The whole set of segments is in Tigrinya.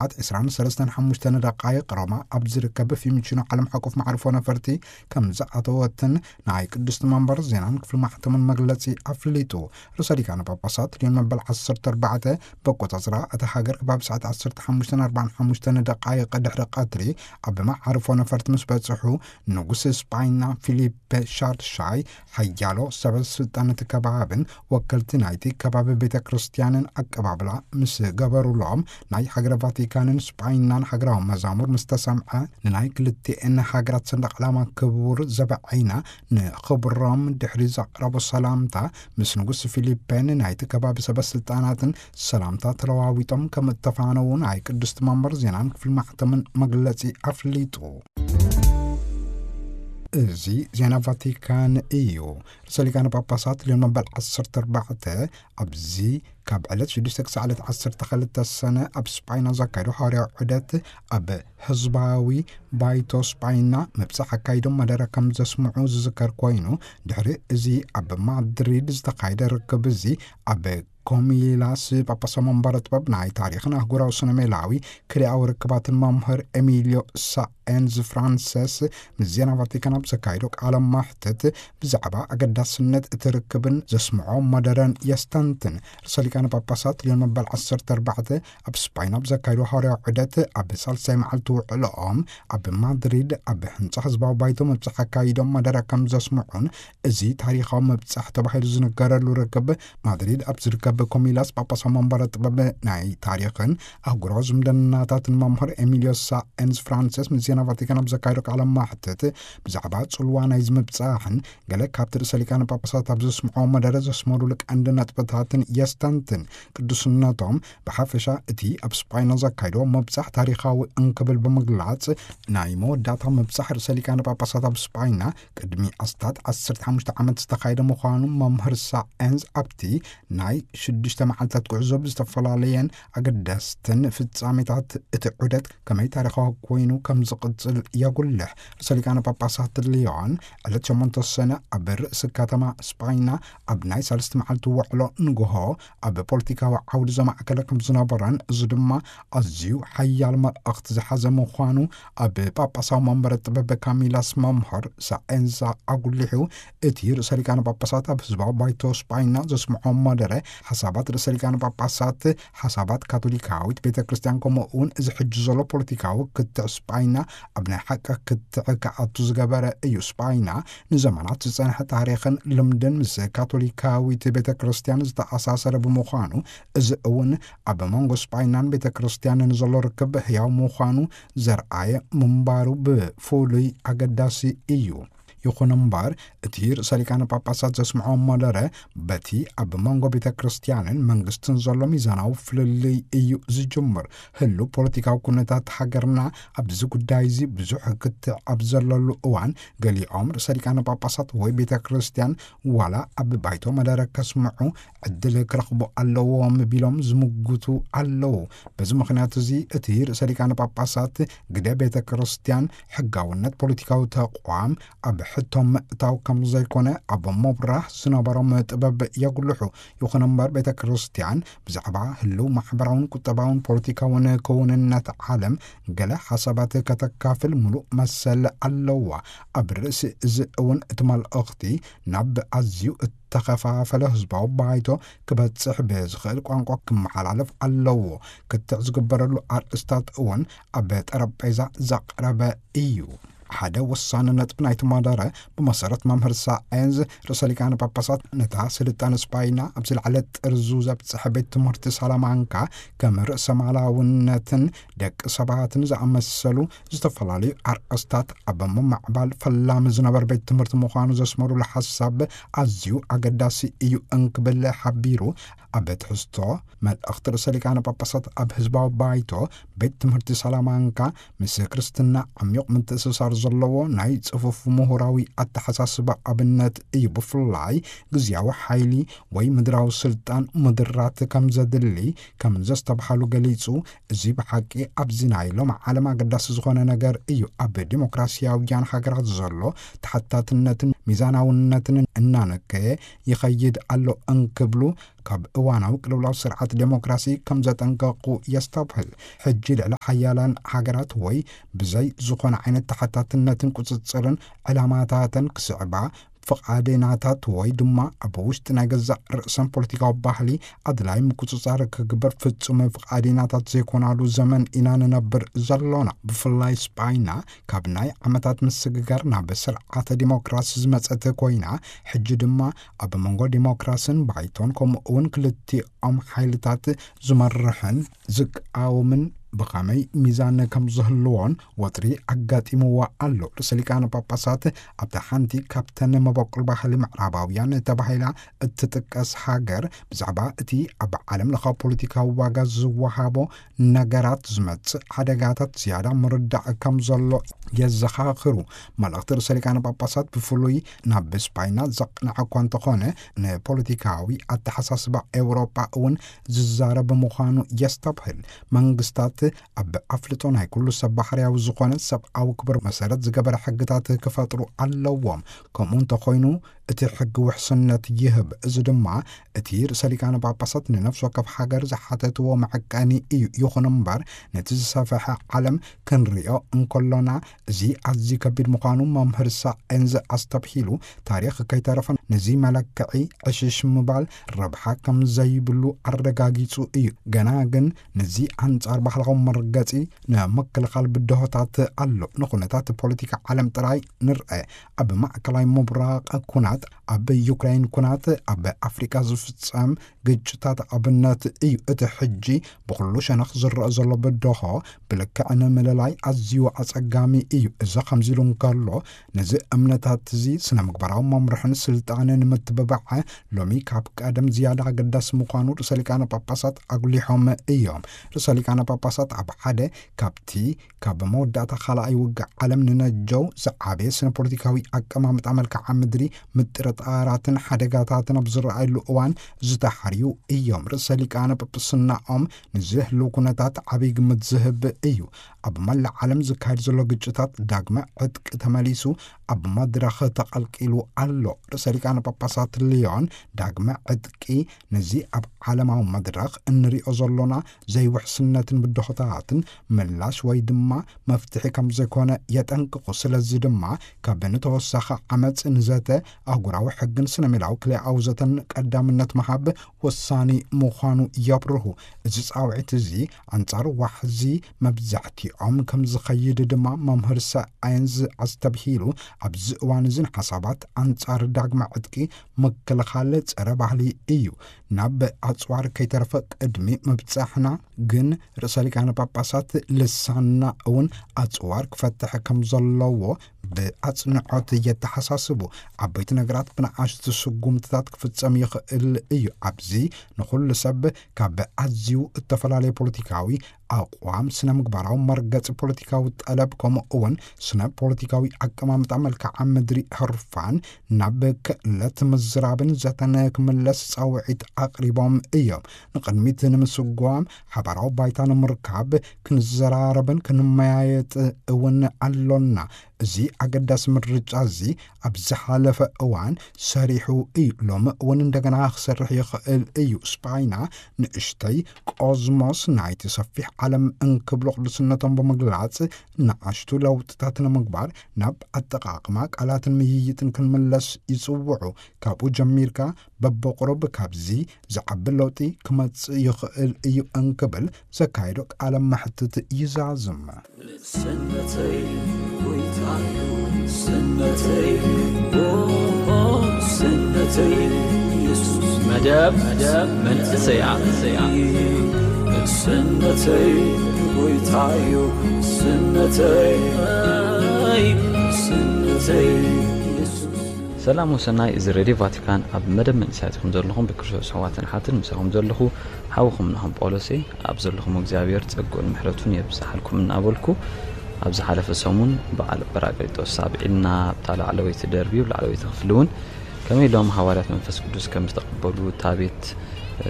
ሰዓት ዕስራን ሰለስተን ሓሙሽተን ደቃይቕ ሮማ ኣብ ዝርከብ ፊሚቺኖ ዓለም ሓቆፍ መዕርፎ ነፈርቲ ከም ዝኣተወትን ናይ ቅድስቲ መንበር ዜናን ክፍሊ ማሕተምን መግለጺ ኣፍሊጡ። ርእሰ ሊቃነ ጳጳሳት ሊዮን መበል ዓሰርተ ኣርባዕተ በቆጻጽራ እታ ሃገር ከባቢ ሰዓት ዓሰርተ ሓሙሽተን ኣርባዓን ሓሙሽተን ደቃይቕ ድሕሪ ቀትሪ ኣብ መዓርፎ ነፈርቲ ምስ በጽሑ፣ ንጉስ ስጳይና ፊሊፐ ሻርሻይ ሓያሎ ሰበ ስልጣን እቲ ከባብን ወከልቲ ናይቲ ከባቢ ቤተ ክርስቲያንን ኣቀባብላ ምስ ገበሩሎም፣ ናይ ሃገረ ቫቲካንን ስጳይናን ሃገራዊ መዛሙር ምስ ተሰምዐ፣ ንናይ ክልቲኤን ሃገራት ሰንደቕ ዕላማ ክቡር ዘበዐይና ንኽብሮም ድሕሪ ዘቕረቦ ሰላምታ፣ ምስ ንጉስ ፊሊፔን ናይቲ ከባቢ ሰበ ስልጣናትን ሰላምታ ተለዋዊጦም ከም እተፋነዉ ናይ ቅድስቲ መንበር ዜናን ክፍሊ ማሕተምን መግለጺ ኣፍሊጡ። እዚ ዜና ቫቲካን እዩ። ርእሰ ሊቃነ ጳጳሳት ሊዮን መበል ዓሰርተ ኣርባዕተ ኣብዚ ካብ ዕለት ሽዱሽተ ክሳዕ ዕለት ዓሰርተ ክልተ ሰነ ኣብ ስጳይና ዘካየዱ ሃዋርያዊ ዑደት ኣብ ህዝባዊ ባይቶ ስጳይና ምብጻሕ ኣካይዶም መደረ ከም ዘስምዑ ዝዝከር ኮይኑ፣ ድሕሪ እዚ ኣብ ማድሪድ ዝተኻየደ ርክብ እዚ ኣብ ኮሚላስ ጳጳሳዊ መንበረ ጥበብ ናይ ታሪኽን ኣህጉራዊ ስነ ሜላዊ ክልኣዊ ርክባትን መምህር ኤሚልዮ ሳኤንዝ ፍራንሰስ ምስ ዜና ቫቲካን ኣብ ዘካየዶ ቃለ መሕትት ብዛዕባ ኣገዳስነት እቲ ርክብን ዘስምዖ መደረን የስተንትን። ርእሰ ሊቃነ ጳጳሳት ሊዮን መበል ዓሰርተ ኣርባዕተ ኣብ ስጳይን ኣብ ዘካየዶ ሃዋርያዊ ዑደት ኣብ ሳልሳይ መዓልቲ ውዕሎኦም ኣብ ማድሪድ ኣብ ህንጻ ህዝባዊ ባይቶ ምብጻሕ ኣካይዶም መደረ ከም ዘስምዑን፣ እዚ ታሪኻዊ ምብጻሕ ተባሂሉ ዝንገረሉ ርክብ ማድሪድ ኣብ ዝርከብ ኮሚላስ ጳጳሳዊ መንበረ ጥበብ ናይ ታሪኽን ኣህጉራዊ ዝምድናታትን መምህር ኤሚልዮ ሳኤንዝ ፍራንሲስ ምስ ዜና ቫቲካን ኣብ ዘካየዶ ቃለ መሕትት ብዛዕባ ጽልዋ ናይዚ ምብጻሕን ገለ ካብቲ ርእሰ ሊቃነ ጳጳሳት ኣብ ዘስምዖ መደረ ዘስመሩሉ ቀንዲ ነጥብታትን የስተንትን። ቅዱስነቶም ብሓፈሻ እቲ ኣብ ስጳይና ዘካየዶ ምብጻሕ ታሪኻዊ እንክብል ብምግላጽ፣ ናይ መወዳእታ ምብጻሕ ርእሰ ሊቃነ ጳጳሳት ኣብ ስጳይና ቅድሚ ኣስታት ዓሰርተ ሓሙሽተ ዓመት ዝተኻየደ ምዃኑ መምህር ሳኤንዝ ኣብቲ ናይ ሽዱሽተ መዓልታት ጉዕዞ ብዝተፈላለየን ኣገደስትን ፍጻሜታት እቲ ዑደት ከመይ ታሪኻዊ ኮይኑ ከም ዝቕጽል የጉልሕ። ርእሰ ሊቃነ ጳጳሳት ሊዮን ዕለት ሸሞንተ ሰነ ኣብ ርእሲ ከተማ ስጳይና ኣብ ናይ ሳልስቲ መዓልቲ ውዕሎ ንግሆ ኣብ ፖለቲካዊ ዓውዲ ዘማእከለ ከም ዝነበረን፣ እዚ ድማ ኣዝዩ ሓያል መልእኽቲ ዝሓዘ ምዃኑ ኣብ ጳጳሳዊ መንበረ ጥበብ ካሚላስ መምህር ሳኤንዛ ኣጉሊሑ፣ እቲ ርእሰ ሊቃነ ጳጳሳት ኣብ ህዝባዊ ባይቶ ስጳይና ዘስምዖ መደረ፣ ሓሳባት ርእሰ ሊቃነ ጳጳሳት፣ ሓሳባት ካቶሊካዊት ቤተ ክርስቲያን፣ ከምኡ እውን እዚ ሕጂ ዘሎ ፖለቲካዊ ክትዕ ስጳይና ኣብ ናይ ሓቂ ክትዕ ክኣቱ ዝገበረ እዩ። ስጳይና ንዘመናት ዝጸንሐ ታሪኽን ልምድን ምስ ካቶሊካዊት ቤተ ክርስቲያን ዝተኣሳሰረ ብምዃኑ፣ እዚ እውን ኣብ መንጎ ስጳይናን ቤተ ክርስቲያንን ዘሎ ርክብ ህያው ምዃኑ ዘርኣየ ምንባሩ ብፍሉይ ኣገዳሲ እዩ። ይኹን እምበር፣ እቲ ርእሰ ሊቃነ ጳጳሳት ዘስምዖ መደረ፣ በቲ ኣብ መንጎ ቤተ ክርስቲያንን መንግስትን ዘሎ ሚዛናዊ ፍልልይ እዩ ዝጅምር። ህሉው ፖለቲካዊ ኩነታት ሃገርና ኣብዚ ጉዳይ እዚ ብዙሕ ክትዕ ኣብ ዘለሉ እዋን፣ ገሊኦም ርእሰ ሊቃነ ጳጳሳት ወይ ቤተ ክርስቲያን ዋላ ኣብ ባይቶ መደረ ከስምዑ ዕድል ክረኽቡ ኣለዎም ቢሎም ዝምጉቱ ኣለዉ። በዚ ምኽንያት እዚ፣ እቲ ርእሰ ሊቃነ ጳጳሳት ግደ ቤተ ክርስቲያን ሕጋውነት ፖለቲካዊ ተቋም ኣብ ሕቶ ምእታው ከም ዘይኮነ ኣብ ምብራህ ዝነበሮም ጥበብ የጉልሑ። ይኹን እምበር፣ ቤተ ክርስቲያን ብዛዕባ ህልው ማሕበራውን ቁጠባውን ፖለቲካውን ክውንነት ዓለም ገለ ሓሳባት ከተካፍል ምሉእ መሰል ኣለዋ። ኣብ ርእሲ እዚ እውን፣ እቲ መልእኽቲ ናብ ኣዝዩ እተኸፋፈለ ህዝባዊ ባይቶ ክበጽሕ ብዝኽእል ቋንቋ ክመሓላለፍ ኣለዎ። ክትዕ ዝግበረሉ ኣርእስታት እውን ኣብ ጠረጴዛ ዘቕረበ እዩ። ሓደ ወሳኒ ነጥቢ ናይቲ መደረ፣ ብመሰረት መምህር ሳየንስ ርእሰ ሊቃነ ጳጳሳት፣ ነታ ስልጣነ ስጳይና ኣብ ዝለዓለ ጥርዙ ዘብጽሐ ቤት ትምህርቲ ሳላማንካ ከም ርእሰ ማላውነትን ደቂ ሰባትን ዝኣመሰሉ ዝተፈላለዩ ኣርእስታት ኣብ ምምዕባል ፈላሚ ዝነበር ቤት ትምህርቲ ምዃኑ ዘስመሩሉ ሓሳብ ኣዝዩ ኣገዳሲ እዩ እንክብል ሓቢሩ፣ ኣብ ትሕዝቶ መልእኽቲ ርእሰ ሊቃነ ጳጳሳት ኣብ ህዝባዊ ባይቶ ቤት ትምህርቲ ሳላማንካ ምስ ክርስትና ዓሚቕ ምትእስሳር ዘለዎ ናይ ጽፉፍ ምሁራዊ ኣተሓሳስባ ኣብነት እዩ። ብፍላይ ግዝያዊ ሓይሊ ወይ ምድራዊ ስልጣን ምድራት ከም ዘድሊ ከም ዘስተብሃሉ ገሊጹ፣ እዚ ብሓቂ ኣብዚ ናይ ሎም ዓለም ኣገዳሲ ዝኾነ ነገር እዩ። ኣብ ዲሞክራሲያውያን ሃገራት ዘሎ ተሓታትነትን ሚዛናውነትን እናነከየ ይኸይድ ኣሎ እንክብሉ ካብ እዋናዊ ቅልውላው ስርዓት ዴሞክራሲ ከም ዘጠንቀቑ የስተብህል። ሕጂ ልዕሊ ሓያላን ሃገራት ወይ ብዘይ ዝኾነ ዓይነት ተሓታትነትን ቁጽጽርን ዕላማታተን ክስዕባ ፍቓዴናታት ወይ ድማ ኣብ ውሽጢ ናይ ገዛእ ርእሰን ፖለቲካዊ ባህሊ ኣድላይ ምቁጽጻር ክግበር ፍጹም ፍቓዴናታት ዘይኮናሉ ዘመን ኢና ንነብር ዘሎና። ብፍላይ ስጳይና ካብ ናይ ዓመታት ምስግጋር ናብ ስርዓተ ዲሞክራሲ ዝመጸት ኮይና፣ ሕጂ ድማ ኣብ መንጎ ዲሞክራስን ባይቶን ከምኡ እውን ክልቲኦም ሓይልታት ዝመርሕን ዝቃወምን ብኸመይ ሚዛን ከም ዝህልዎን ወጥሪ ኣጋጢምዋ ኣሎ። ርእሰ ሊቃነ ጳጳሳት ኣብታ ሓንቲ ካብተን መበቆል ባህሊ ምዕራባውያን ተባሂላ እትጥቀስ ሃገር ብዛዕባ እቲ ኣብ ዓለም ለኻዊ ፖለቲካዊ ዋጋ ዝወሃቦ ነገራት ዝመጽእ ሓደጋታት ዝያዳ ምርዳእ ከም ዘሎ የዘኻኽሩ። መልእኽቲ ርእሰ ሊቃነ ጳጳሳት ብፍሉይ ናብ ስፓይና ዘቕንዐ እኳ እንተኾነ፣ ንፖለቲካዊ ኣተሓሳስባ ኤውሮጳ እውን ዝዛረብ ምዃኑ የስተብህል። መንግስታት ኣብ ኣፍልጦ ናይ ኩሉ ሰብ ባህርያዊ ዝኾነ ሰብኣዊ ክብር መሰረት ዝገበረ ሕግታት ክፈጥሩ ኣለዎም። ከምኡ እንተኾይኑ እቲ ሕጊ ውሕስነት ይህብ። እዚ ድማ እቲ ርእሰ ሊቃነ ጳጳሳት ንነፍሲ ወከፍ ሃገር ዝሓተትዎ መዐቀኒ እዩ። ይኹን እምበር ነቲ ዝሰፈሐ ዓለም ክንሪኦ እንከሎና እዚ ኣዝዩ ከቢድ ምዃኑ መምህር ሳኤንዝ ኣስተብሂሉ፣ ታሪኽ ከይተረፈ ነዚ መለክዒ ዕሽሽ ምባል ረብሓ ከም ዘይብሉ ኣረጋጊጹ እዩ። ገና ግን ነዚ ኣንጻር ባህላዊ መርገጺ ንምክልኻል ብድሆታት ኣሎ። ንኹነታት ፖለቲካ ዓለም ጥራይ ንርአ። ኣብ ማእከላይ ምብራቕ ኩናት፣ ኣብ ዩክራይን ኩናት፣ ኣብ ኣፍሪቃ ዝፍጸም ግጭታት ኣብነት እዩ። እቲ ሕጂ ብኹሉ ሸነኽ ዝረአ ዘሎ ብድሆ ብልክዕ ንምልላይ ኣዝዩ ኣጸጋሚ እዩ። እዚ ከምዚ ኢሉ እንከሎ፣ ነዚ እምነታት እዚ ስነ ምግባራዊ መምርሕን ስልጣንን ምትብባዕ ሎሚ ካብ ቀደም ዝያዳ ኣገዳሲ ምዃኑ ርእሰ ሊቃነ ጳጳሳት ኣጉሊሖም እዮም። ርእሰ ሊቃነ ጳጳሳት ኣብ ሓደ ካብቲ ካብ መወዳእታ ካልኣይ ውግእ ዓለም ንነጀው ዝዓበየ ስነ ፖለቲካዊ ኣቀማምጣ መልክዓ ምድሪ ምጥርጣራትን ሓደጋታትን ኣብ ዝረኣየሉ እዋን ዝተሓርዩ እዮም። ርእሰ ሊቃነ ጳጳስናኦም ንዚ ህልው ኩነታት ዓብይ ግምት ዝህብ እዩ። ኣብ መላእ ዓለም ዝካየድ ዘሎ ግጭታት ዳግመ ዕጥቂ ተመሊሱ ኣብ መድረኽ ተቐልቂሉ ኣሎ። ርእሰ ሊቃነ ጳጳሳት ሊዮን ዳግመ ዕጥቂ ነዚ ኣብ ዓለማዊ መድረኽ እንሪኦ ዘሎና ዘይውሕስነትን ብድሆታትን ምላሽ ወይ ድማ መፍትሒ ከም ዘይኮነ የጠንቅቑ። ስለዚ ድማ ካብ ንተወሳኺ ዓመጽ ንዘተ ኣህጉራዊ ሕግን ስነ ሜላዊ ክልኣዊ ዘተን ቀዳምነት ምሃብ ወሳኒ ምዃኑ የብርሁ። እዚ ጻውዒት እዚ ኣንጻር ዋሕዚ መብዛሕትኦም ከም ዝኸይድ ድማ መምህር ሳየንስ ኣስተብሂሉ። ኣብዚ እዋን እዚ ንሓሳባት ኣንጻር ዳግመ ዕጥቂ ምክልኻል ጸረ ባህሊ እዩ። ናብ ኣጽዋር ከይተረፈ ቅድሚ ምብጻሕና ግን ርእሰ ሊቃነ ጳጳሳት ልሳንና እውን ኣጽዋር ክፈትሕ ከም ዘለዎ ብኣጽንዖት የተሓሳስቡ። ዓበይቲ ነገራት ብንኣሽቱ ስጉምትታት ክፍጸም ይኽእል እዩ። ኣብዚ ንኹሉ ሰብ ካብ ኣዝዩ እተፈላለየ ፖለቲካዊ ኣቕዋም፣ ስነ ምግባራዊ መርገጺ ፖለቲካዊ ጠለብ፣ ከምኡ እውን ስነ ፖለቲካዊ ኣቀማምጣ መልክዓ ምድሪ ህርፋን ናብ ክእለት ምዝራብን ዘተን ክምለስ ጻውዒት ኣቕሪቦም እዮም። ንቕድሚት ንምስጓም ሓባራዊ ባይታ ንምርካብ ክንዘራረብን ክንመያየጥ እውን ኣሎና። እዚ ኣገዳሲ ምርጫ እዚ ኣብ ዝሓለፈ እዋን ሰሪሑ እዩ። ሎሚ እውን እንደገና ክሰርሕ ይኽእል እዩ። ስፓይና ንእሽተይ ቆዝሞስ ናይቲ ሰፊሕ ዓለም እንክብሎ ቅዱስነቶም ብምግላጽ፣ ንኣሽቱ ለውጥታት ንምግባር ናብ ኣጠቓቕማ ቃላትን ምይይጥን ክንምለስ ይጽውዑ። ካብኡ ጀሚርካ በብቑሩብ ካብዚ ዝዓቢ ለውጢ ክመጽእ ይኽእል እዩ እንክብል ዘካየዶ ቃለ መሕትት ይዛዝም። ንእስነተይ ጎይታዩ፣ ንእስነተይ፣ ኦ፣ ንእስነተይ ኢየሱስ። መደብ፣ መደብ መንእሰያት። ንእስነተይ ጎይታዩ፣ ንእስነተይ፣ ንእስነተይ ኢየሱስ። ሰላም ወሰናይ፣ እዚ ሬድዮ ቫቲካን። ኣብ መደብ መንእሰያት ኢኹም ዘለኹም። ብክርስቶስ ኣሕዋትን ኣሓትን ምሳኹም ዘለኹ ሓውኹም ናሆም ጳውሎስ እየ። ኣብ ዘለኹም እግዚኣብሔር ጸግኡን ምሕረቱን የብዝሓልኩም እናበልኩ፣ ኣብ ዝሓለፈ ሰሙን በዓል ጳራቅሊጦስ ኣብዒልና ኣብታ ላዕለወይቲ ደርቢ፣ ላዕለወይቲ ክፍሊ እውን ከመይ ኢሎም ሃዋርያት መንፈስ ቅዱስ ከም ዝተቐበሉ እታ ቤት፣ እ፣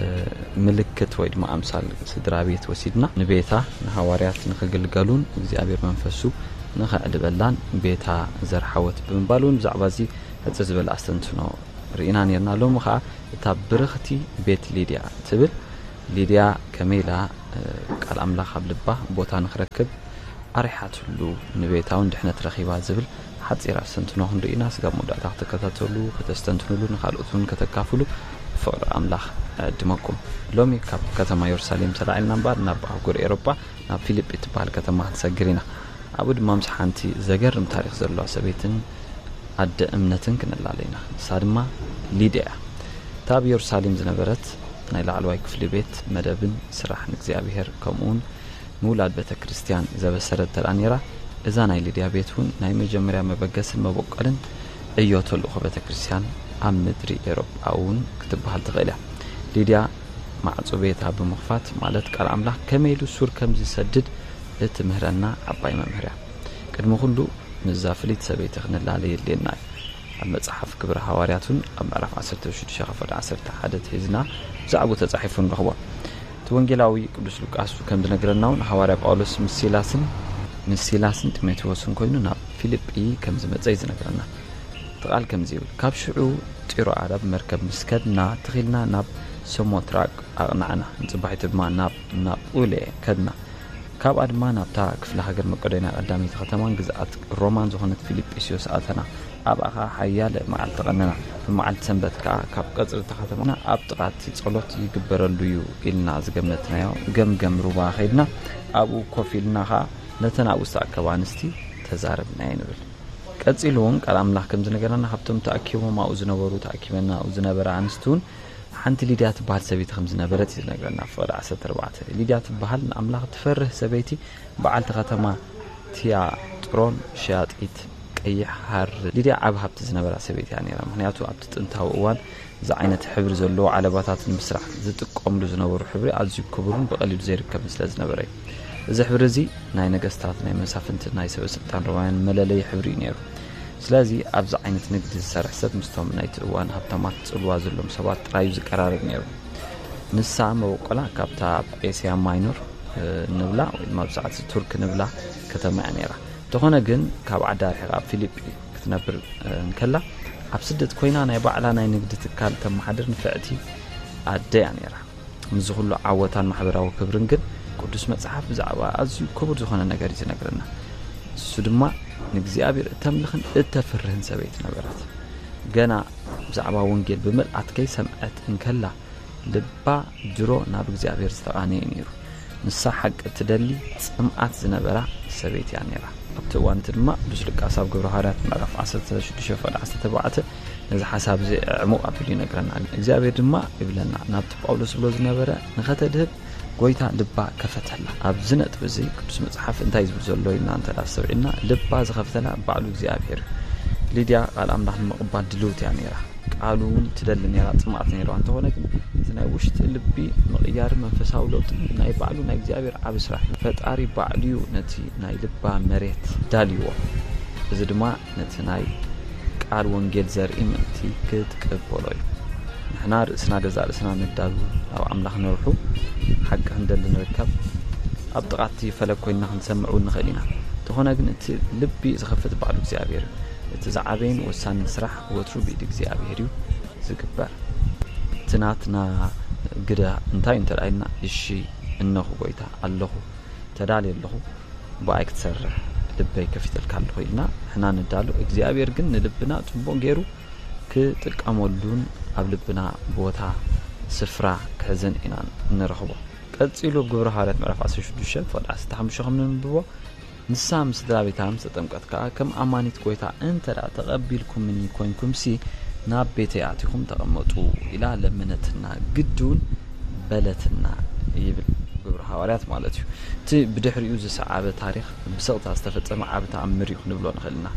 ምልክት ወይ ድማ ኣምሳል ስድራ ቤት ወሲድና፣ ንቤታ ንሃዋርያት ንኽግልገሉን እግዚኣብሔር መንፈሱ ንኸዕልበላን ቤታ ዘርሓወት ብምባል እውን ብዛዕባ እዚ ሕጽር ዝበለ ኣስተንትኖ ርኢና ነርና። ሎሚ ኸዓ እታ ብርኽቲ ቤት ሊድያ ትብል። ሊድያ ከመይ ኢላ ቃል ኣምላኽ ኣብ ልባ ቦታ ንኽረክብ ኣሪሓትሉ፣ ንቤታ እውን ድሕነት ረኺባ ዝብል ሓጺር ኣስተንትኖ ክንርኢ ኢና። ስጋብ መወዳእታ ክትከታተሉ፣ ከተስተንትኑሉ፣ ንኻልኦት እውን ከተካፍሉ ብፍቕሪ ኣምላኽ እዕድመኩም። ሎሚ ካብ ከተማ የሩሳሌም ተላዒልና እምበኣር ናብ ኣህጉር ኤሮጳ ናብ ፊልጲ እትበሃል ከተማ ክንሰግር ኢና። ኣብኡ ድማ ምስ ሓንቲ ዘገርም ታሪኽ ዘለዋ ሰበይትን ኣደ እምነትን ክንላለ ኢና። ንሳ ድማ ሊድያ እያ። እታ ኣብ የሩሳሌም ዝነበረት ናይ ላዕለዋይ ክፍሊ ቤት መደብን ስራሕ ንእግዚኣብሔር ከምኡውን ምውላድ ቤተ ክርስቲያን ዘበሰረት ተደኣ ነይራ፣ እዛ ናይ ሊድያ ቤት እውን ናይ መጀመርያ መበገስን መበቆልን ዕዮ ተልእኾ ቤተ ክርስቲያን ኣብ ምድሪ ኤሮጳ እውን ክትበሃል ትኽእል እያ። ሊድያ ማዕጾ ቤታ ብምኽፋት ማለት ቃል ኣምላኽ ከመይ ኢሉ ሱር ከም ዝሰድድ እትምህረና ዓባይ መምህር እያ። ቅድሚ ኩሉ ምስዛ ፍልይቲ ሰበይቲ ክንላለ የድልየና እዩ። ኣብ መጽሓፍ ግብሪ ሃዋርያት እውን ኣብ ምዕራፍ ዓሰርተ ሽዱሽተ ክፍሊ ዓሰርተ ሓደ ሒዝና ብዛዕባኡ ተጻሒፉ ንረኽቦ። እቲ ወንጌላዊ ቅዱስ ሉቃስ ከም ዝነግረና እውን ሃዋርያ ጳውሎስ ምስ ሲላስን ምስ ሲላስን ጢሞቴዎስን ኮይኑ ናብ ፊልጲ ከም ዝመጸ እዩ ዝነግረና። እቲ ቃል ከምዚ ይብል፣ ካብ ሽዑ ጢሮኣዳ ብመርከብ ምስ ከድና ትኺልና ናብ ሰሞትራቅ ኣቕናዕና፣ ንጽባሒቱ ድማ ናብ ናጳሌ ከድና። ካብኣ ድማ ናብታ ክፍለ ሃገር መቄዶንያ ቀዳመይቲ ከተማን ግዝኣት ሮማን ዝኾነት ፊልጵስዮስ ኣተና። ኣብኣ ኸኣ ሓያለ መዓልቲ ቀነና። ብመዓልቲ ሰንበት ከኣ ካብ ቀጽሪ እታ ከተማ ኣብ ጥቓ እቲ ጸሎት ይግበረሉ እዩ ኢልና ዝገመትናዮ ገምገም ሩባ ኸይድና ኣብኡ ኮፍ ኢልና ኸኣ ነተን ኣብኡ ዝተኣከባ ኣንስቲ ተዛረብናየን ይብል። ቀጺሉ እውን ቃል ኣምላኽ ከም ዝነገረና ካብቶም ተኣኪቦም ኣብኡ ዝነበሩ ተኣኪበን ኣብኡ ዝነበራ ኣንስቲ እውን ሓንቲ ሊድያ ትበሃል ሰበይቲ ከም ዝነበረት እዩ ዝነግረና። ፍቕዲ ዓሰርተ ኣርባዕተ ሊድያ ትበሃል ንኣምላኽ ትፈርህ ሰበይቲ በዓልቲ ከተማ ቲያጥሮን ሸያጢት ቀይሕ ሃር። ሊድያ ዓቢ ሃብቲ ዝነበራ ሰበይቲ እያ ነይራ፣ ምኽንያቱ ኣብቲ ጥንታዊ እዋን እዚ ዓይነት ሕብሪ ዘለዎ ዓለባታት ንምስራሕ ዝጥቀምሉ ዝነበሩ ሕብሪ ኣዝዩ ክቡርን ብቐሊሉ ዘይርከብን ስለ ዝነበረ እዩ። እዚ ሕብሪ እዚ ናይ ነገስታት፣ ናይ መሳፍንትን ናይ ሰበ ስልጣን ሮማውያን መለለዪ ሕብሪ እዩ ነይሩ። ስለዚ ኣብዚ ዓይነት ንግዲ ዝሰርሕ ሰብ ምስቶም ናይቲ እዋን ሃብታማት ጽልዋ ዘለዎም ሰባት ጥራይ እዩ ዝቀራረብ ነይሩ። ንሳ መበቆላ ካብታ ኣብ ኤስያ ማይኖር ንብላ ወይ ድማ ኣብ ሰዓት ቱርክ ንብላ ከተማ እያ ነይራ። እንተኾነ ግን ካብ ዓዳ ርሒቓ ኣብ ፊልጲ ክትነብር እንከላ ኣብ ስደት ኮይና ናይ ባዕላ ናይ ንግዲ ትካል ተመሓድር ንፍዕቲ ኣደ እያ ነይራ። ምስዚ ኩሉ ዓወታን ማሕበራዊ ክብርን ግን ቅዱስ መጽሓፍ ብዛዕባ ኣዝዩ ክቡር ዝኾነ ነገር እዩ ዝነግረና። እሱ ድማ ንእግዚኣብሔር እተምልኽን እተፍርህን ሰበይቲ ነበረት። ገና ብዛዕባ ወንጌል ብምልኣት ከይሰምዐት እንከላ ልባ ድሮ ናብ እግዚኣብሔር ዝተቓነየ ነይሩ። ንሳ ሓቂ እትደሊ ጽምኣት ዝነበራ ሰበይቲ እያ ነይራ። ኣብቲ እዋን እቲ ድማ ቅዱስ ሉቃስ ኣብ ግብረ ሃዋርያት ምዕራፍ ዓሰርተ ሽዱሽተ ፍቕዲ ዓሰርተ ኣርባዕተ ነዚ ሓሳብ እዚ ዕሙቕ ኣቢሉ ይነግረና። እግዚኣብሔር ድማ ይብለና ናብቲ ጳውሎስ ዝብሎ ዝነበረ ንኸተድህብ ጎይታ ልባ ከፈተላ። ኣብዚ ነጥቢ እዚ ቅዱስ መጽሓፍ እንታይ ዝብል ዘሎ ኢልና እንተ ኣስተውዒልና ልባ ዝኸፍተላ ባዕሉ እግዚኣብሔር እዩ። ሊድያ ቃል ኣምላኽ ንምቕባል ድልውቲ እያ ነይራ። ቃሉ እውን ትደሊ ነይራ፣ ጽምኣት ነይርዋ። እንተኾነ ግን እቲ ናይ ውሽጢ ልቢ ምቕያር መንፈሳዊ ለውጢ ናይ ባዕሉ ናይ እግዚኣብሔር ዓቢ ስራሕ እዩ። ፈጣሪ ባዕሉ እዩ ነቲ ናይ ልባ መሬት ዳልይዎ። እዚ ድማ ነቲ ናይ ቃል ወንጌል ዘርኢ ምእንቲ ክትቅበሎ እዩ። ንሕና ርእስና ገዛእ ርእስና ንዳሉ፣ ኣብ ኣምላኽ ንርሑ፣ ሓቂ ክንደሊ ንርከብ፣ ኣብ ጥቓ እቲ ፈለግ ኮይንና ክንሰምዕ እውን ንኽእል ኢና። እንተኾነ ግን እቲ ልቢ ዝኸፍት ባዕሉ እግዚኣብሔር እዩ። እቲ ዝዓበየን ወሳንን ስራሕ ወትሩ ብኢድ እግዚኣብሔር እዩ ዝግበር። እቲ ናትና ግደ እንታይ እንተ ኢልና እሺ እነኹ ጎይታ ኣለኹ ተዳልየ ኣለኹ ብኣይ ክትሰርሕ ልበይ ከፊተልካ ኣለኹ ኢልና ንሕና ንዳሎ እግዚኣብሔር ግን ንልብና ጽቡቕ ገይሩ ክጥቀመሉን ኣብ ልብና ቦታ ስፍራ ክሕዝን ኢና ንረኽቦ። ቀጺሉ ኣብ ግብረ ሃዋርያት ምዕራፍ ዓሰርተ ሽዱሽተ ፍቕዲ ዓሰርተ ሓሙሽተ ከም ንንብቦ ንሳ ምስ ስድራ ቤታ ምስ ተጠምቀት ከኣ ከም ኣማኒት ጐይታ እንተ ደኣ ተቐቢልኩምኒ ኰንኩምሲ ናብ ቤተይ ኣቲኹም ተቐመጡ ኢላ ለመነትና ግዲ እውን በለትና ይብል ግብሪ ሃዋርያት ማለት እዩ። እቲ ብድሕሪኡ ዝሰዓበ ታሪኽ ብስቕታ ዝተፈጸመ ዓቢ ተኣምር እዩ ክንብሎ ንኽእል ኢና።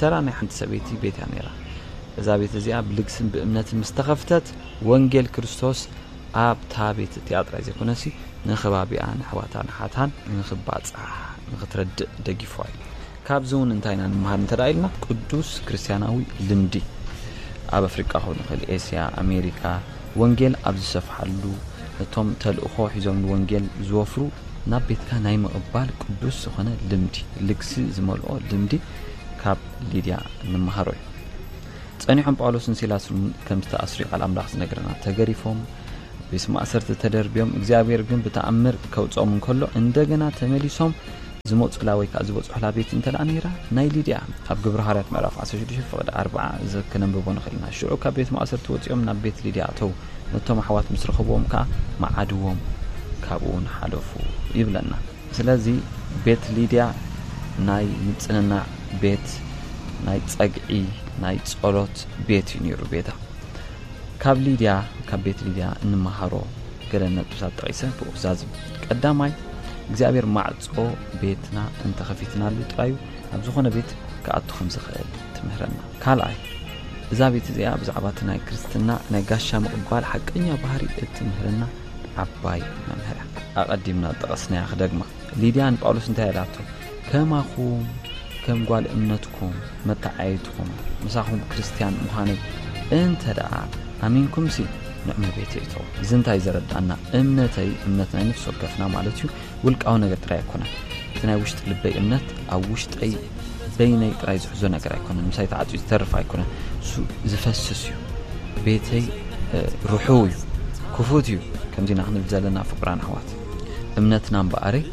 ተራ ናይ ሓንቲ ሰበይቲ ቤት እያ ነይራ። እዛ ቤት እዚኣ ብልግስን ብእምነትን ምስ ተኸፍተት ወንጌል ክርስቶስ ኣብታ ቤት እቲኣ ጥራይ ዘይኮነሲ ንኸባቢኣ ንኣሕዋታን ኣሓታን ንኽባጻሕ ንኽትረድእ ደጊፍዋ እዩ። ካብዚ እውን እንታይ ኢና ንምሃር እንተ ደኣ ኢልና ቅዱስ ክርስትያናዊ ልምዲ ኣብ ኣፍሪቃ ክኸውን ይኽእል፣ ኤስያ፣ ኣሜሪካ ወንጌል ኣብ ዝሰፍሓሉ እቶም ተልእኾ ሒዞም ንወንጌል ዝወፍሩ ናብ ቤትካ ናይ ምቕባል ቅዱስ ዝኾነ ልምዲ ልግሲ ዝመልኦ ልምዲ ካብ ሊድያ ንምሃሮ እዩ። እቲ ጸኒሖም ጳውሎስን ሲላስን ከም ዝተኣስሩ ቃል ኣምላኽ ዝነግረና። ተገሪፎም፣ ቤት ማእሰርቲ ተደርብዮም፣ እግዚኣብሔር ግን ብተኣምር ከውጽኦም እንከሎ፣ እንደገና ተመሊሶም ዝመጹላ ወይ ከኣ ዝበጽሑላ ቤት እንተ ደኣ ነይራ፣ ናይ ሊድያ ኣብ ግብረ ሃዋርያት ምዕራፍ ዓሰርተ ሽዱሽተ ፍቕዲ ኣርብዓ እዚ ክነንብቦ ንኽእል ኢና። ሽዑ ካብ ቤት ማእሰርቲ ወጺኦም ናብ ቤት ሊድያ ኣተዉ። ነቶም ኣሕዋት ምስ ረኸብዎም ከኣ መዓድዎም፣ ካብኡ እውን ሓለፉ ይብለና። ስለዚ ቤት ሊድያ ናይ ምጽንናዕ ቤት፣ ናይ ጸግዒ፣ ናይ ጸሎት ቤት እዩ ነይሩ ቤታ። ካብ ሊድያ፣ ካብ ቤት ሊድያ እንመሃሮ ገለ ነጥብታት ጠቒሰ ብኡ ክዛዝም። ቀዳማይ፣ እግዚኣብሔር ማዕጾ ቤትና እንተኸፊትናሉ ጥራዩ ኣብ ዝኾነ ቤት ክኣቱ ከም ዝኽእል ትምህረና። ካልኣይ፣ እዛ ቤት እዚኣ ብዛዕባ እቲ ናይ ክርስትና ናይ ጋሻ ምቕባል ሓቀኛ ባህሪ እትምህረና ዓባይ መምህር እያ። ኣቐዲምና ዝጠቐስናያ ክደግማ። ሊድያ ንጳውሎስ እንታይ ኢላቶ? ከማኹም ከም ጓል እምነትኩም መተዓየይትኹም ምሳኹም ክርስትያን ምዃነይ እንተ ደኣ ኣሚንኩምሲ ንዕመ ቤተይ እተዉ። እዚ እንታይ ዘረዳና? እምነተይ፣ እምነት ናይ ነፍሲ ወከፍና ማለት እዩ፣ ውልቃዊ ነገር ጥራይ ኣይኮነን። እቲ ናይ ውሽጢ ልበይ እምነት ኣብ ውሽጠይ በይነይ ጥራይ ዝሕዞ ነገር ኣይኮነን። ምሳይ ተዓጽዩ ዝተርፍ ኣይኮነን። እሱ ዝፈስስ እዩ። ቤተይ፣ እ፣ ርሑው እዩ፣ ክፉት እዩ። ከምዚና ክንብል ዘለና ፍቁራን ኣሕዋት። እምነትና እምበኣረይ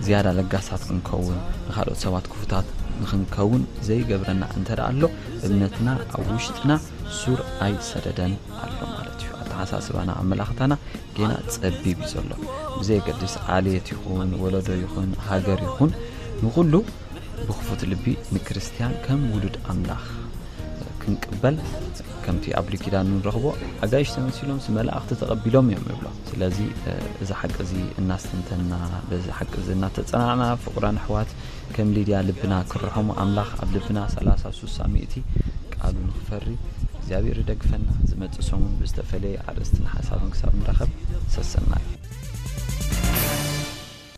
ዝያዳ ለጋሳት ክንከውን፣ ንኻልኦት ሰባት ክፉታት ንኽንከውን ዘይገብረና እንተ ደኣ ኣሎ፣ እምነትና ኣብ ውሽጥና ሱር ኣይሰደደን ኣሎ ማለት እዩ። ኣተሓሳስባና፣ ኣመላኽታና ጌና ጸቢብ እዩ ዘሎ። ብዘየገድስ ዓሌት ይኹን፣ ወለዶ ይኹን፣ ሃገር ይኹን፣ ንኹሉ ብኽፉት ልቢ ንክርስትያን ከም ውሉድ ኣምላኽ ክንቅበል፣ ከምቲ ኣብ ብሉይ ኪዳን ንረኽቦ፣ ኣጋይሽ ተመሲሎምስ መላእኽቲ ተቐቢሎም እዮም ንብሎ። ስለዚ፣ እ፣ እዚ ሓቂ እዚ እናስተንተንና፣ በዚ ሓቂ እዚ እናተጸናዕና፣ ፍቑራን ኣሕዋት፣ ከም ሊድያ ልብና ክርሖም፣ ኣምላኽ ኣብ ልብና ሰላሳ፣ ስሳ፣ ሚእቲ ቃሉ ንኽፈሪ እግዚኣብሔር ይደግፈና። ዝመጽእ ሰሙን ብዝተፈለየ ኣርእስትን ሓሳብን ክሳብ ንራኸብ፣ ሰሰናዩ።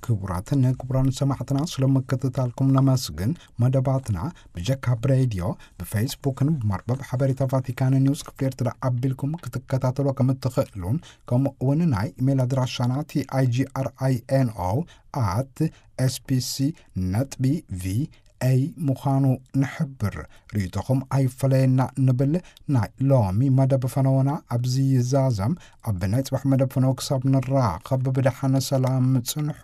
ክቡራትን ክቡራን ሰማዕትና፣ ስለ ምክትታልኩም ነመስግን። መደባትና ብጀካ ብሬድዮ፣ ብፌስቡክን ብመርበብ ሓበሬታ ቫቲካን ኒውስ ክፍሊ ኤርትራ ኣቢልኩም ክትከታተሎ ከም እትኽእሉን፣ ከምኡ እውን ናይ ኢሜይል ኣድራሻና ቲ ኣይ ጂ ኣር ኣይ ኤን ኦ ኣት ኤስ ቢ ሲ ነጥቢ ቪ ኤ ምዃኑ ንሕብር። ርእይቶኹም ኣይፈለየና ንብል። ናይ ሎሚ መደብ ፈነወና ኣብዚ ይዛዘም። ኣብ ናይ ጽባሕ መደብ ፈነወ ክሳብ ንራኸብ ብደሓነ ሰላም ጽንሑ።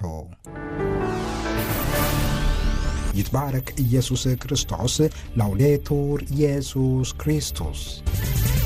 ይትባረክ ኢየሱስ ክርስቶስ። ላውዴቱር ኢየሱስ ክርስቶስ።